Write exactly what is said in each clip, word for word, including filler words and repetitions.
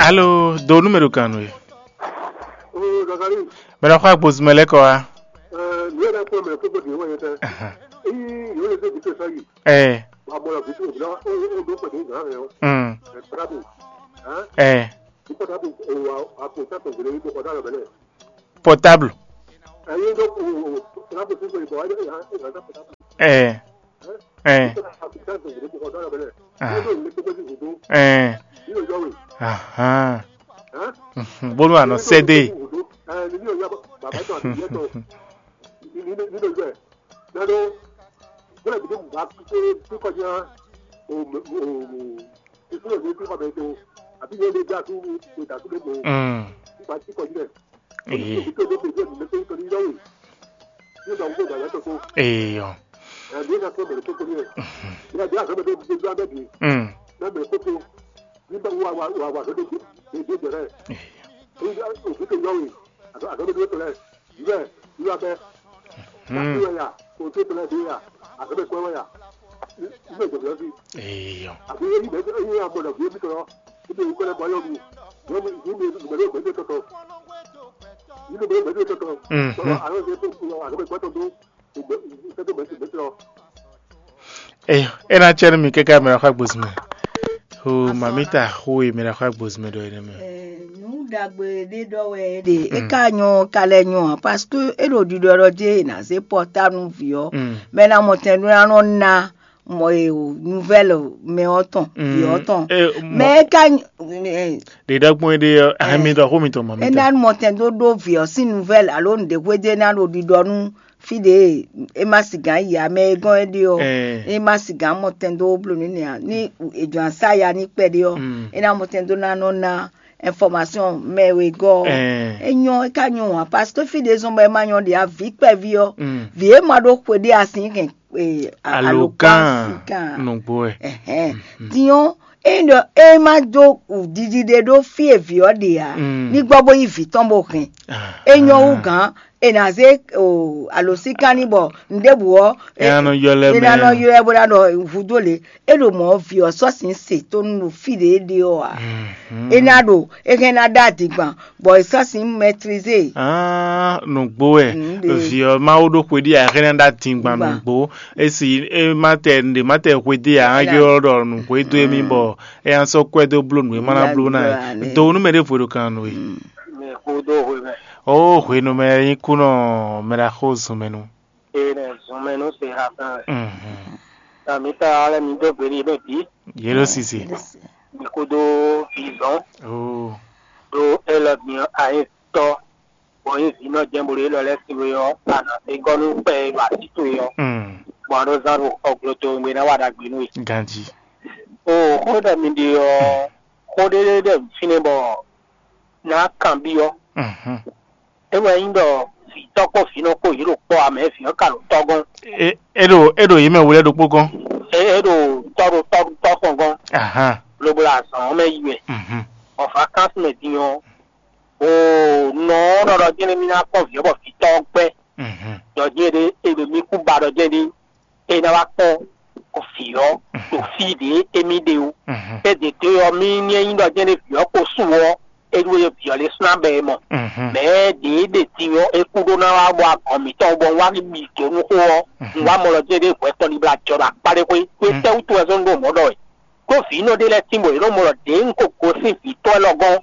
Alo, do nú mɛ ɖo gǎn nú we. Oo, Zakalíi, Mɛ ɖo xɔ agbozimɛ lɛ́ɛ kɔ wá. Ɛɛ, nǔ e ɖo akpɔ́ mɛ kpókpó ɖě wɛ nyɛ tɛ. Ahan. Ényí yǒ lɛ dó gǔdo sɔ́ yi, Ɛ, bɔ a mɔ lɔ gǔdo, ó, ó ɖó kpɛ̌ dó gǎn mɛ ɔ́, mm, ɛ, kplábù, hɛn, ɛ, ní kpɔ́tábù, o, a, a kpo sátɔ gǔdo ní kpɔ́tá lɔ bɛ́ lɛ. Portable. Ɛ, yé ɖó, o, o, kplábù fífo yi bɔ é ɖó é hɛn, é hɛn sátɔ kplábù. Ɛ, ɛ, Ní kpɔ́tá a kpo sátɔ gǔdo ní kpɔ́tá lɔ bɛ́ lɛ. Ah. Ní ɖo ní kpɔ́tá gǔdo, Ɛ, ní ɖo yɔ́ we. Ahan. Hɛn? Mhm. Bónú àná sɛ́ dé. Ní ɖo yɔ́ we. Ɛ, ní ɖo yɔ́ bàbá tɔn àti ìyá tɔn. Ní, ní, ní ɖo yɔ́ ɛ. Nado, bóle bi dé bá kúkú bí kɔjá o o ìfúnná ní kúkú bẹ tó àbí yóò lé dá kú kó dà kú lé tó Mm. Nípa tí kọjú rẹ̀. Èyí. Tó tó tó tó tó tó tó yọ̀wé. Ní ìgbà gbogbo ìgbà yàtọ̀ tó. Èèyàn. Ẹ̀mí ẹ̀ ká tó bẹ̀rẹ̀ tó tó ní ẹ̀. Ní ẹ̀dí àgbẹ̀ tó tó tó abẹ́ bì. Mm. Ní ẹ̀mí tó tó. Nígbà wà wà wà wà tó tó tó tó bẹ̀rẹ̀. Èèyàn. Ní ìgbà òkú tó yọ̀wé. Àgbẹ̀ tó tó tó rẹ̀. Bíbẹ̀, bíbẹ̀ bẹ́. Hmm. Kí wọ́n yà, kò tó tẹ̀lé dé yà, àgbẹ̀ kọ́ wọ́n yà. Bíbẹ̀ jọ̀bọ̀ sí. Èèyàn. Àbí yóò yí bẹ́ẹ̀ yóò yà mọ̀nà bí ebi tọ̀rọ̀. Ibi ìwé kọ́lẹ̀ bọ́ yọ̀ mi. Yọ̀ mi, yọ̀ mi, yọ̀ mi, yọ̀ mi tọ̀tọ̀. Yọ̀ mi, yọ̀ mi tọ̀tọ̀. Mhm. Tọ̀rọ̀, àwọn yóò tó kú lọ, àgbẹ̀ gbọ́tọ̀ tó. Ìgbẹ́, ìgbẹ́ tó bẹ́ẹ̀ tó bẹ́ẹ̀ tọ̀rọ̀. Eyo, e ná cɛ nú mì káká mɛ ɖo xɔ agbozimɛ. O mamita xó e mɛ ɖo xɔ agbozimɛ ɖɔ énɛ́ mɛ. Nǔ ɖagbe ɖé ɖɔ wɛ é ɖe, é Mm. ka nyɔ ka lɛ́ nyɔ ǎ, parce que é ɖo ɖiɖɔ ɖɔ jɛ è nǎ zé pɔ́tánu vǐ ɔ́, Mm. mɛ ná mɔ tɛn ɖó ná nɔ ná mɔ e o nouvelle mɛ ɔ́ tɔn, vǐ ɔ́ tɔn. Eh, mɔ- Mɛ é ka nyɔ- eh, Ɖe ɖɔgbɔn é ɖe ɔ́, ahɛn mi ɖɔ xó mitɔn mɔ é mi ná tɔn. Mɔ tɛn dó ɖó vǐ ɔ́ sín nouvelle alo nǔɖé hwéjé ná ɖo ɖiɖɔ nú fí ɖě é ma sigǎn yi ǎ, mɛ e gɔ́n é ɖe ɔ́, Ɛɛ. É ma sigǎn mɔ tɛn dó bló nú nɛ ǎ. Ní è jɔ̌ ná sá ya ní kpɛɖé ɔ́, Mm. É ná mɔ tɛn dó ná nɔ ná information mɛ e gɔ́ ɔ́. Ɛɛ. É nyɔ́, é ka nyɔ́ ǎ, parce que fí ɖě zɔn bɔ é ma nyɔ́ ɖě ǎ, vǐ kpɛví ɔ́, Mm. Vǐ e ma ɖó xwe ɖé a sín hɛn e, a- Alogán. Alogán sigán. Nǔgbó wɛ. Ɛhɛn. Mm. Din ɔ́, é ɖɔ é ma dó ɖiɖi ɖé ɖó fí e vǐ ɔ́ ɖe ǎ, Mm. Ní gbɔ bó yí vǐ tɔn bó hɛn. Ah. É nyɔ́ wú gǎn, è nǎ zé o alǒsíkán ní bɔ nǔɖébǔ ɔ́, È nǎ nɔ ylɔ́ ɛ è nǎ mɛ. Nɔ ylɔ́ ɛ bó ná ɖɔ hudó lě. É ɖo mɔ̌ vǐ ɔ́ sɔ́ sǐn se tó nú ɖo fí ɖě é ɖe ɔ́ ǎ. Mhm. É ná ɖo é hɛn ná ɖó adǐngban, bɔ è sɔ́ sǐn mɛtlize. Ah, nǔgbó wɛ. Mm, ɖe. Vǐ ɔ́ Mawu ɖó xwe ɖi axéná ɖó adingban Gban. Nǔgbó. Esi é má tɛ ɖě má tɛ xwe dí ǎ, Voilà. Ylɔ́ ɖɔ nǔxwedó émí bɔ é ná sɔ́ kwɛ́ dó bló nǔ e má ná bló ná é. Bló ná é. Do nú mɛ ɖěvo ɖo kan nú we. Mm. Mɛ kúdó hwe mɛ. Ó hwenu mɛ nyí kú nɔ mɛ ɖo axó zun mɛ nu. Ene zun mɛ nú se ha tɔn wɛ. Mhm. Tami ta ale mi dó gbe ɖi bɛ bi. Yé ɖó sisi. Mi kúdó vizɔn. Ó. Ɖó élɔ́ din ayi tɔ bɔ nyí vǐ nɔ jɛ́n bó ɖo élɔ́ lɛ́ɛ sin we ɔ́, a nǎ se gɔ́ nú kpɛ e ɖo así towe ɔ́, Mm. bɔ a ɖó zán ɖo xɔ glo towe ná wa ɖagbe nú we. Ganjí. O xó ɖɔ mi ɖe ɔ́, xó ɖé ɖé ɖe fínɛ́ bɔ ná kanbyɔ́. Mhm. É wɛ nyí ɖɔ vǐtɔ́ kpó vǐnɔ kpó yě ɖo kpɔ́ ǎ, mɛ vǐ ɔ́ ka ɖo tɔ́ gɔ́n. É é ɖo é ɖo yě mɛ wlɛ́ ɖokpó gɔ́n. É é ɖo tɔ́ ɖo tɔ́ tɔ́ tɔn gɔ́n, Ahan. Lobo ɖo azɔ̌ ɔ́ mɛ yi wɛ. Mhm. Bɔ vakansi mɛ din ɔ́, o nɔ ɔ́ nɔ ɖɔ jɛ́n mì ná kpɔ́n vǐ ɔ́ bɔ vǐtɔ́ ɔ́ gbɛ́. Mhm. Ɖɔ jɛ́n ɖé é ɖo mì kú ba ɖɔ jɛ́n ɖé é ná wá kpɔ́n vǐ ɔ́ ɖo fí ɖě émí ɖe ó. Mhm. É ɖě dó ɔ́, mì ní é nyí ɖɔ jɛ́n ɖé vǐ ɔ́ ko su ɔ́, é ɖó e vǐ ɔ́ lɛ́ slán bɔ é mɔ. Mhm. Mɛ ɖě ɖe din ɔ́, é kú ɖó ná wá bɔ agɔn mǐtɔn bɔ un wá bi dǒ nú xó ɔ́, un wá mɔ lɔ jɛ́n ɖé hwɛ tɔn ní bla jɔ ɖo akpá ɖé xwé. Xwé tɛ́wútu wɛ zɔ́n ɖó mɔ̌ ɖɔ wɛ? Ɖó vǐ nɔ ɖé lɛ́ɛ tínbɔ yě nɔ mɔ lɔ ɖě un ko gosín vǐtɔ́ élɔ́ gɔ́n,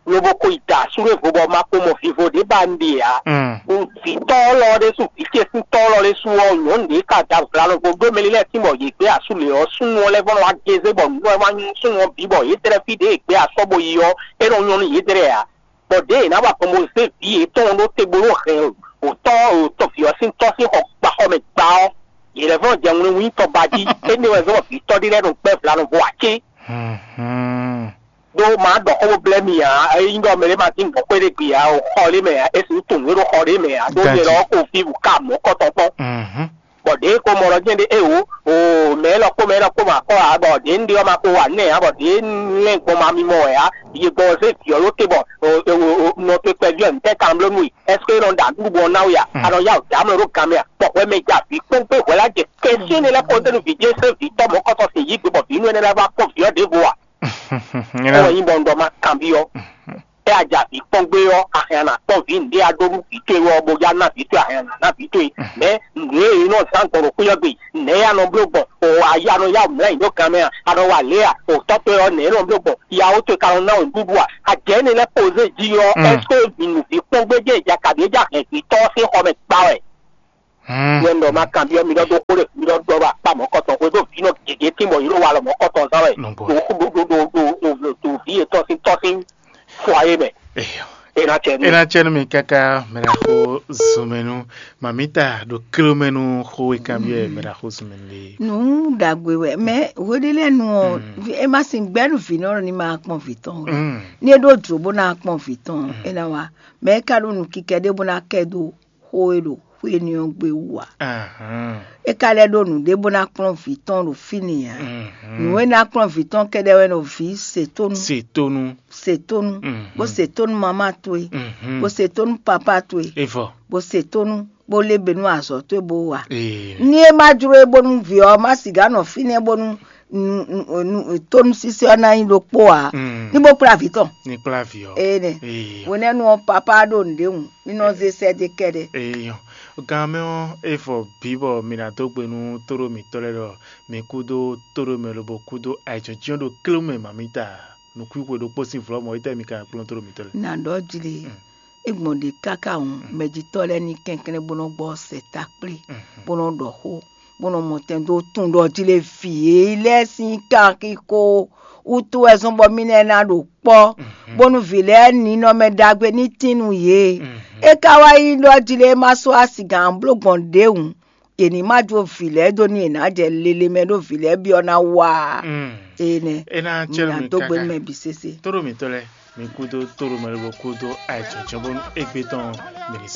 lobo ko yi da asú ɖé vo bɔ ma ko mɔ vivo ɖě ba un ɖe ǎ. Mm. Un vǐtɔ́ élɔ́ ɖésú, vǐ ce sín tɔ́ élɔ́ ɖésú ɔ́, nyɔ̌nu ɖě ka da vla nɔ vo ɖó mɛ lɛ́ɛ tínbɔ yě gbé asú lě ɔ́, súnnu ɔ́ lɛ́ vɔ́ nɔ wá gézé bɔ nǔ ɔ́ wá nyí súnnu ɔ́ bǐ bɔ yědɛ́ fí ɖě è gbé asɔ́ bó yi ɔ́, é nɔ nyɔ́ nú yědɛ́ ǎ. Bɔ ɖěe è nǎ wa gbɔn bó zé vǐ yětɔn ɖó te bó ɖó hɛn òtɔ́ òtɔ́ vǐ ɔ́ sín tɔ́ sín xɔ gba xɔ mɛ gba ɔ́, yě lɛ́ vɔ́ jɛ ŋlú wínyi tɔba jí. Énɛ́ wɛ zɔ́n vǐtɔ́ ɖé lɛ́ɛ nɔ gbɛ́ vla nɔ vo ǎ cé? Hlɔ̌nhlɔ́n. Ɖó mǎ ɖɔ xó bó blɛ́ mi ǎ, ényí ɖɔ mɛ ɖé ma dín gbɔ̌ xwé ɖé gbe ǎ, o xɔ ɖé mɛ ǎ, é sixú tunwun nǔ e ɖo xɔ ɖé mɛ ǎ, ɖó nyɛ Ganjí. Lɔ ko fí wǔ ka mɔ̌ kɔtɔn kpɔ́n. Mhm. Bɔ ɖěe ko mɔ ɖɔ jɛ́n ɖe é wǒ, oo, mɛ élɔ́ kpó mɛ élɔ́ kpó ma kɔ ǎ, bɔ ɖě un ɖe ɔ́ ma ko wa nɛ́ ǎ, bɔ ɖě un lɛ́n gbɔn ma mimɔ wɛ ǎ, yi gbɔn ɔ́ zé vǐ ɔ́ ɖó te bɔ nɔ towe kpɛví ɔ́, ntɛ́ kan bló nú we? Ɛ́seke é nɔ ɖo aɖǔɖu bɔ ɔ́ ná we a? A nɔ yá wǔ dǎ mlɔ ɖó gan mɛ a? Bɔ hwɛ mɛ ja vǐ kpɔ́n gbé hwɛ lá jɛ kɛ́syɛ́n énɛ́ lɛ́ɛ kpɔ́n zé nú vǐ jɛ́n sɛ́n vǐ tɔ́ mɔ̌kɔtɔn sin yí gbe bɔ vǐ nú énɛ́ lɛ́ɛ wá kpɔ́n vǐ ɔ́ ɖěvo a? Ɔ́ wɛ nyí bɔ un ɖɔ ma kanbyɔ́. É a ja vǐ kpɔ́n gbé ɔ́, a hɛn a nǎ kpɔ́n vǐ nǔɖé a ɖó nú vǐ towe ɔ́, bó já ná vǐ towe, a hɛn a nǎ ná vǐ towe. Mɛ̌ nǔɖé e nɔ zán gbɔn ɖo xwé ɔ́ gbe, nɛ̌ a nɔ bló gbɔn? O a ya nɔ yá mlɛ́ nyi ɖó gan mɛ a? A nɔ wa lě a? O tɔ́ towe ɔ́, nɛ̌ e nɔ bló gbɔn? Ya ó towe ka nɔ ná wǔ ɖuɖu a? A jɛ énɛ́ lɛ́ɛ pozé jí ɔ́, Mm. Ɛ́seke vǐ nǔ vǐ kpɔ́n gbé jɛ ja kabǐ é ja hɛn vǐ tɔ́ ɔ́ sín xɔ mɛ gba wɛ? Yɛ un ɖɔ ma kanbyɔ́ mi ɖɔ ɖó xó ɖé, mi ɖɔ ɖɔ ɖo akpá mɔ̌kɔtɔn xwé ɖó vǐ nɔ gěgé tín bɔ yě ɖo walɔ mɔ̌kɔtɔn zán wɛ. Nɔgbɔ. Ɖo xó ɖo ɖo ɖo ɖo ɖo ɖo vǐ yětɔn sín tɔ́ sín fɔ ayé mɛ. Eyɔ. É ná cɛ nú É mi. Ná cɛ nú mi káká mɛɖaxó zunmɛnu. Mamita ɖo kílómɛnu xó e kanbyɔ́ mɛɖaxó zunmɛnu lé. Nǔ ɖagbe wɛ, mɛ hweɖé lɛ́ɛ nu ɔ, Mm. vi- é ma sin gbɛ́ nú vǐ nɔ ní ma kpɔn vǐ tɔn o. Mm. Ní é ɖó jǒ bó ná kpɔn vǐ tɔn ɔ, é ná wa. Mɛ é ka ɖó nǔkikɛ ɖé bó ná kɛ dó xó e ɖo xwé énɛ́ ɔ́ gbe wú ǎ. Ahán. É ka lɛ́ ɖó nǔɖé bó ná kplɔ́n vǐ tɔn ɖo fínɛ́ ǎ. Mhm. Nǔ e ná kplɔ́n vǐ tɔn kɛ́ɖɛ́ wɛ nɔ vǐ se tónú. Se tónú. Se tónú. Mhm. Bó se tónú mamá towe. Mhm. Bó se tónú papá towe. Evɔ. Bó se tónú bó lé be nú azɔ̌ towe bó wa. Ee. Ní é má jló é bónú vǐ ɔ́ má sixá nɔ fínɛ́ bónú nu- nu- nu- tónúsísí ɔ́ ná nyí ɖokpó ǎ. Mm. Ní bó kplá vǐ tɔn. Ní kplá vǐ ɔ́. Ee nɛ. Ee. Hwenɛ́nu ɔ́, papá ɖo nǔɖé wun, ní nɔ zé sɛ́ dó kɛ́ɖɛ́. Eyɔn. Gan mɛ ɔ́, é fɔ bǐ bɔ mi ná dó gbe nú tóɖó mǐtɔn lɛ́ɛ ɖɔ mi kúdó tóɖó mɛ lobo kúdó ayǐjínjɔ́n ɖo klé mɛ mǎmítá. Nǔkwíxwe ɖokpó sín vlɔ̌ mɔ̌, étɛ́ mi ka kplɔ́n tóɖó mǐtɔn lɛ́ɛ? Nǎ ɖɔ jlé, é gbɔn ɖě káká hǔn, mɛjitɔ́ lɛ́ɛ ní kɛnklɛ́n bó nɔ́ gbɔ sɛta kplé, bó nɔ́ ɖɔ xó, bó nɔ́ mɔ tɛn dó tunwun ɖɔ jlé vǐ e lɛ́ɛ sín kanxixo wútu wɛ zɔ́n bɔ mì lɛ́ɛ ná ɖo kpɔ́, bónú vǐ lɛ́ɛ ninɔmɛ ɖagbe ní tín nú yě. É ka wá nyí ɖɔ jlé ma sɔ́ asi gǎn bló gbɔn ɖěhǔn, yě ní ma jó vǐ lɛ́ɛ dó nú yě ná jɛ lele mɛ ɖó vǐ lɛ́ɛ byɔ́ ná wá. Énɛ́. É ná cɛ nú mi dó gbe nú káká. Mɛ bǐ sésé. Tóɖó mǐtɔn lɛ́ɛ, mi kúdó tóɖó mɛ lobɔ kúdó ayǐjínjɔ́n bónú égbé tɔn mi ní sɔ́